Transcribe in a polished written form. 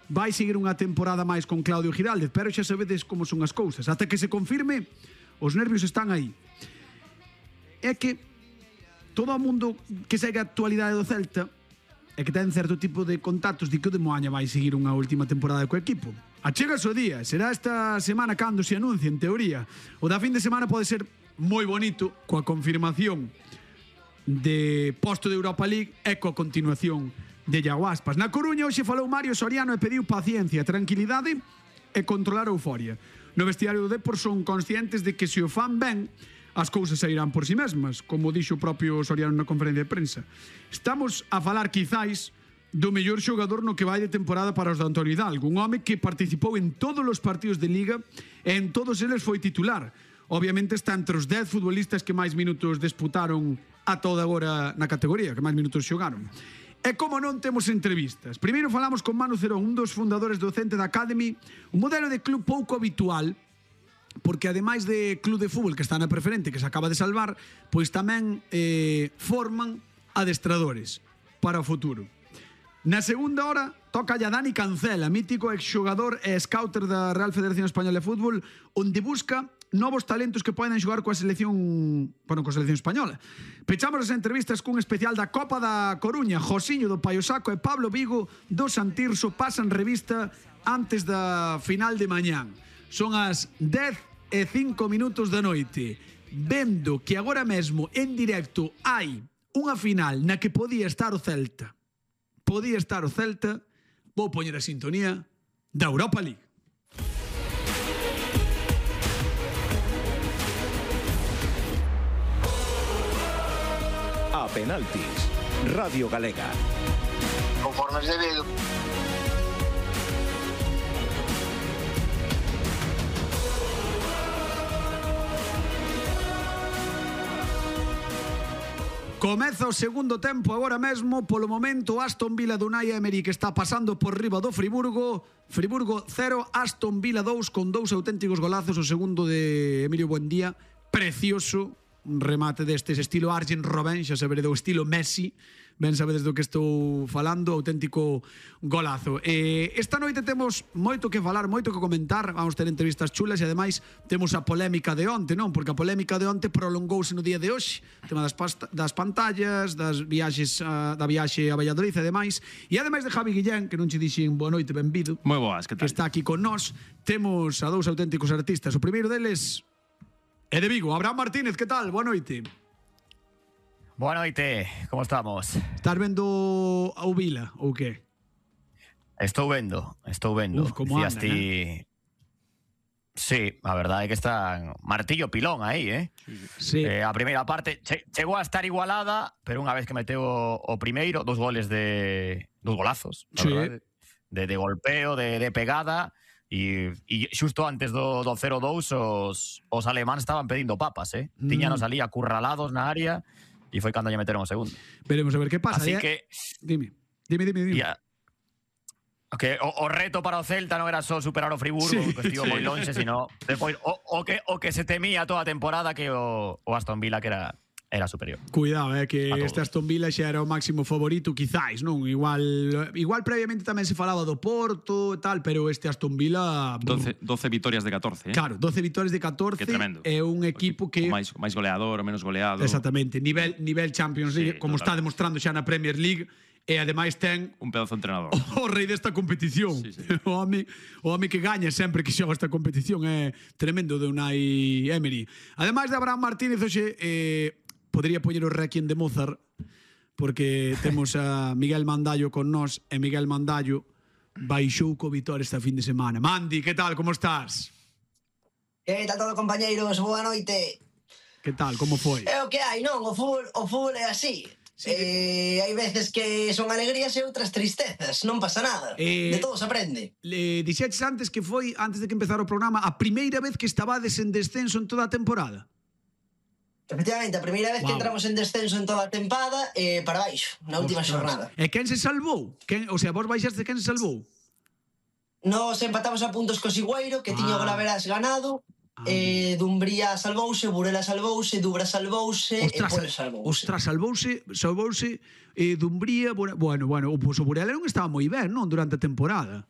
vai seguir unha temporada máis con Claudio Giraldez, pero xa sabedes como son as cousas. Ata que se confirme, os nervios están aí. É que todo o mundo que segue a actualidade do Celta e que ten certo tipo de contactos di que o de Moaña vai seguir unha última temporada co equipo. Achega o día, será esta semana cando se anuncie, en teoría. O da fin de semana pode ser moi bonito coa confirmación de posto de Europa League e coa continuación de Iago Aspas. Na Coruña hoxe falou Mario Soriano e pediu paciencia, tranquilidade e controlar a euforia. No vestiario do Depor son conscientes de que se o fan ben, as cousas sairán por si mesmas, como dixo o propio Soriano na conferencia de prensa. Estamos a falar quizáis do mellor xogador no que vai de temporada para os de Antonio Hidalgo, un home que participou en todos os partidos de Liga e en todos eles foi titular. Obviamente está entre os 10 futbolistas que máis minutos disputaron a toda agora na categoría, que máis minutos xogaron. E como non temos entrevistas. Primeiro falamos con Manu Cerón, un dos fundadores do Centre da Academy, un modelo de club pouco habitual, porque ademais de club de fútbol que está na preferente, que se acaba de salvar, pois tamén forman adestradores para o futuro. Na segunda hora toca a Dani Cancela, mítico exxogador e scouter da Real Federación Española de Fútbol, onde busca novos talentos que poden xogar coa selección, coa selección española. Pechamos as entrevistas cun especial da Copa da Coruña. Josiño do Paio Saco e Pablo Vigo do Santirso pasan revista antes da final de mañán. Son as 10:05 da noite, vendo que agora mesmo en directo hai unha final na que podía estar o Celta. Vou poñer a sintonía da Europa League. A penaltis, Radio Galega. Conformes debido. Comeza o segundo tempo agora mesmo. Polo momento Aston Villa do Unai Emery, que está pasando por riba do Friburgo. Friburgo 0, Aston Villa 2, con dous auténticos golazos. O segundo de Emilio Buendía, precioso, un remate destes estilo Arjen Robben, xa sabedes do estilo Messi, ben sabedes do que estou falando, auténtico golazo. Esta noite temos moito que falar, moito que comentar, vamos ter entrevistas chulas e ademais temos a polémica de onte, non? Porque a polémica de onte prolongouse no día de hoxe, tema das pantallas, das viaxes, da viaxe a Valladolid e demais, e ademais de Javi Guillén, que non che dixen boa noite, benvido, moi boas, que tal? Que está aquí con nós, temos a dous auténticos artistas. O primeiro deles é de Vigo, Abraham Martínez, que tal? Boa noite. Boa noite, como estamos? Estás vendo o Vila ou que? Estou vendo. Uf, como anda, Sí, a verdade é que está martillo pilón aí, Sí. A primeira parte chegou a estar igualada, pero unha vez que meteu o primeiro, dos golazos, sí, de golpeo, de pegada, e xusto antes do 0-2 os alemáns estaban pedindo papas, Tiñanos ali acurralados na área e foi cando lle meteron o segundo. Veremos a ver que pasa. Así que Dime. Que o reto para o Celta non era só superar o Friburgo, que estivo moi lonxe, sino depois o que se temía toda a temporada, que o Aston Villa que era superior. Cuidado, que este Aston Villa xa era o máximo favorito, quizáis, non? Igual previamente tamén se falaba do Porto e tal, pero este Aston Villa 12 vitorias de 14, Claro, 12 vitorias de 14. Que tremendo. É un equipo que máis goleador ou menos goleado. Exactamente, nivel Champions League, como está demostrando xa na Premier League. E ademais ten un pedazo de entrenador, o rei desta competición. O home que gaña sempre que xoga esta competición é tremendo, de Unai Emery. Ademais de Abraham Martínez, hoxe podría poñer o Requiem de Mozart, porque temos a Miguel Mandallo con nós, e Miguel Mandallo baixou co Vitória esta fin de semana. Mandi, que tal, como estás? Que tal todo, compañeiros? Boa noite. Que tal, como foi? É o que hai, non? O fútbol é así. Sí. Hai veces que son alegrías e outras tristezas, non pasa nada, de todo se aprende. Dixeches antes que foi, antes de que empezara o programa, a primeira vez que estabades en descenso en toda a temporada. Efectivamente, a primeira vez que entramos en descenso en toda a tempada, para baixo, na última xornada. E quen se salvou? O sea, vos baixaste, quen se salvou? Nos empatamos a puntos co Sigüeiro, que tiña o Golaveras ganado. Dumbría salvouse, Burela salvouse, Dubra salvouse e Polo salvouse. Ostras, salvouse Dumbría, bueno, pois o Burela non estaba moi ben, non, durante a temporada.